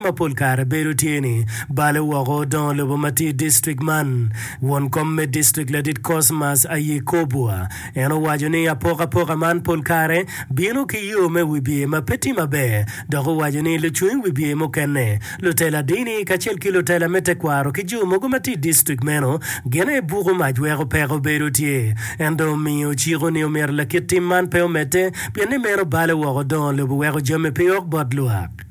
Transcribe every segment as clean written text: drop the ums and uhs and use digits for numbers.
ma pol kare bedo tye ni balo woko dongo lobo ma tye i distrik man. Won kom me distrik ladit Cosmas Ayekobua en owaco ni apokapoka man pol kare bino ki yo me wibye ma pe tye maber dok owaco ni lucung i wibye mukene, lutela dini kacel ki lutela me tekwaro ki jo mogo ma tye i distrik meno gin aye buko mac weko peko bedo tye. En dong omiyo ciko ni omyero lakit tim man pe omedde pien ni meno balo woko dongo lobo weko jami pe ok bot lwak.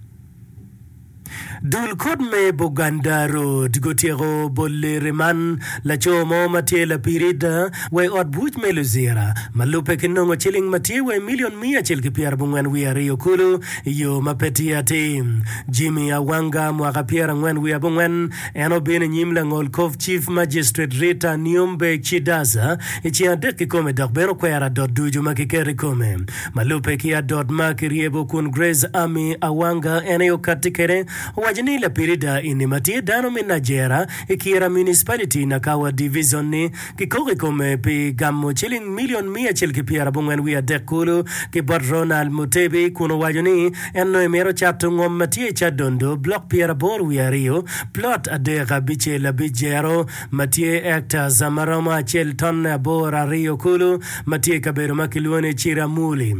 Dul kot me Buganda Road gutyeko boli riman laco mo ma tye lapirida wa i ot buc me Luzira ma lubbe ki nongo ciling ma tye wa i milion miya acel ki pyerabongwen wiye aryo kulu i yo ma pe tye atir. Jimmy Awanga, mwaka pyerangwen wiye abongwen, en obino i nyim langol kop Chief Magistrate Rita Nyombe Chidaza i ceng adek kikome dok bene okwero adot ducu ma kiketo i kome. Ma lubbe ki adot ma kiryebo kun Grace Army Awanga en aye okatti kwede, owaco ni lapirida eni ma tye dano me Najera i Kira Municipality, Nakawa Division-ni kikoko i kome pi gamo ciling milion miya acel ki pyerabongwen wiye adek kulu ki bot Ronald Mutebi kun owaco ni en nongo emito cato ngom ma tye i Kyadondo, blok pyeraboro wiye aryo, plot adek abicel abic jero ma tye hectares ma romo acel tonne aboro aryo kulu. ma tye i kabedo ma kilwongo ni Ciramuli.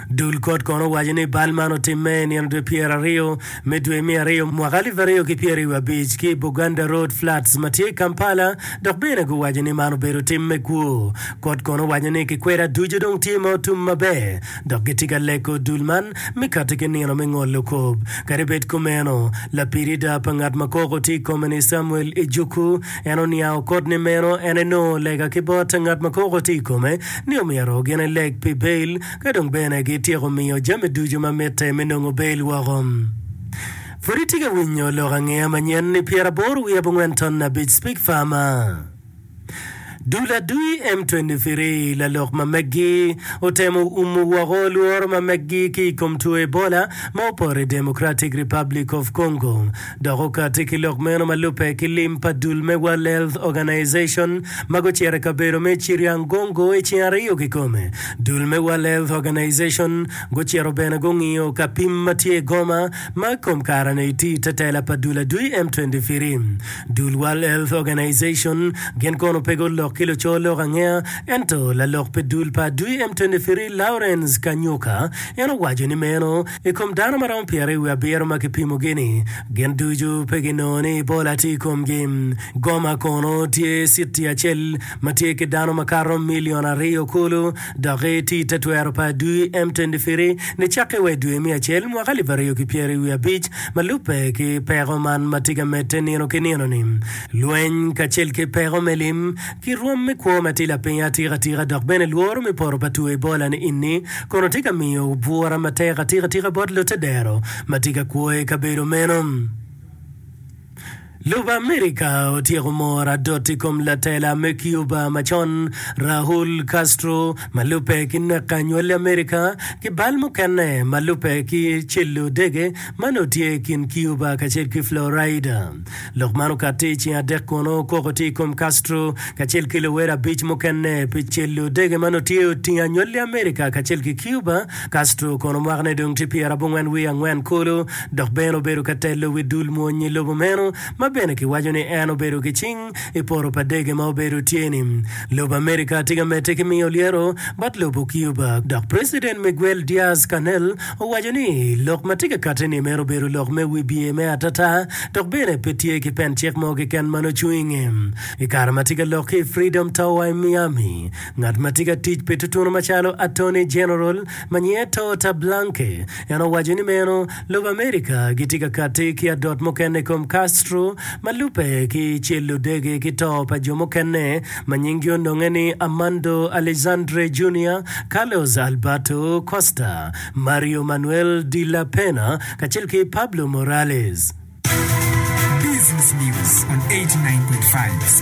Dul kot kono owaco ni bal man otimme i nino dwe 20 me dwe me aryo mwaka 2025 ki i Buganda Road Flats ma tye i Kampala dok bene guwaco ni man obedo tim me kwo. Kot kono owaco ni kikweda ducu dong tye ma otum maber dok gitye ka lego dul man me kati ki nino me ngolo kop. Kadi bed kumeno, lapirida pa ngat ma koko tye i kome-ni Samuel Ejuku En oniango kot ni meno en enongo lega ki bot ngat ma koko tye i kome ni omyero gin eleg pi bail ka dong bene gityeko miyo jami ducu ma mitte me nongo bail woko. Pud itye ka winyo lok angeya manyen ni 84 wiye abongwen ton abic Speak Farmer. Dul adui M23 lalok ma meggi otemo umo woko lworo ma meggi ki i kom two Ebola ma opoto i Democratic Republic of Congo. Dok okatti ki lok meno ma lubbe ki lim pa dul me World Health Organization ma gucito i kabedo me Chiriangongo i ceng aryo kikome. Dul me World Health Organization gucito bene gungiyo ka pim ma tye i Goma ma i kom kare-ni tye i te tela pa dul adwi M23. Dul World Health Organization gin kono pe gulok ki luco lok angeya ento lalok pi dul pa adwi M23 Lawrence Kanyuka en owaco ni meno I kom dano ma romo pyeraryo wiye abiro ma kipimogi-ni, gin ducu pe ginongo ni Ebola tye i komgi. Goma kono tye citi acel ma tye ki dano makato milion aryo kulu dok tye i te twero pa adui M23 nicakke wa i dwe me acel mwaka alip aryo ki pyeraryo wiye abic ma lubbe ki peko man ma tye ka medde nino ki nino-ni. Lweny kacel ki peko me lim Ki rwom me kwo ma tye lapiny atika tika dok bene lworo me poto pa two Ebola ni ini kono tye ka miyo bwura matek atika tika bot lute dero ma tye ka kwo i kabedo meno. Lobo Amerika otyeko moro adot i kom latela me Cuba macon Raul Castro ma lubbe ki nek anywali Amerika ki bal mukene ma lubbe ki celo dege ma nongo tye i kin Cuba kacel ki Florida. Lok man okatti i ceng adek kono koko tye i kom Castro kacel ki luwere abic mukene pi celo dege ma nongo tye otingo anywali Amerika kacel ki Cuba. Castro kono mwakane dong tye pyerabongwen wiye angwen kulu dok bene obedo ka telo wi dul mwony i lobo meno ma bene kiwaco ni en obedo ki cing i poto pa dege ma obedo tye-ni. Lobo Amerika tye ka medde ki miyo lyeto bot lobo Cuba dok President Miguel Diaz-Canel owaco ni lok ma tye ka katti-ni meno obedo lok me wibye me atata dok bene pe tye ki pen cik mo keken ma nongo cung i nge. I kare ma tye ka lok ki i Freedom Tower i Miami, ngat ma tye ka tic pi tutunu macalo Attorney General ma nyinge Tota Blanke en owaco ni meno lobo Amerika gitye ka katti ki adot mukene i kom Castro ma lubbe ki celo dege ki to pa jo mukene ma nyinggi ononge ni Armando Alexandre Junior, Carlos Alberto Costa, Mario Manuel de la Pena kacel ki Pablo Morales. Business News on 89.5.